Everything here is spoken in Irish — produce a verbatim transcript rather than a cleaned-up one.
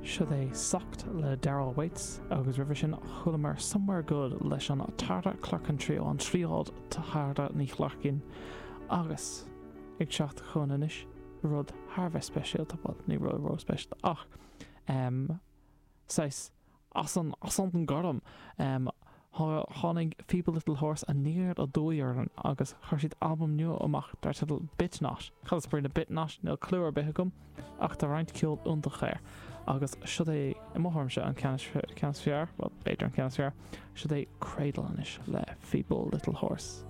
Seo é Socked le Darrell Waits agus roimhe sin chualamar Somewhere Good leis an Tara Clerkin Trio an tríod Tara Ní Chlarcin agus ag teacht chugainn anois rud thar bheith speisialta bhuel ní rud ró speisialta ach um, saghas as an as an gorm um, tháinig Feeble Little Horse aniar aduaidh orainn agus chuir siad albam nua amach dar teideal Bitnot. Cad is brí le Bitnot níl clue ar bith agam ach tá roinnt ceol iontach air. agus seo é i mo thuairimse an ceann is fearr, well b'fhéidir an ceann is fearr, seo é Cradle anois le Feeble Little Horse.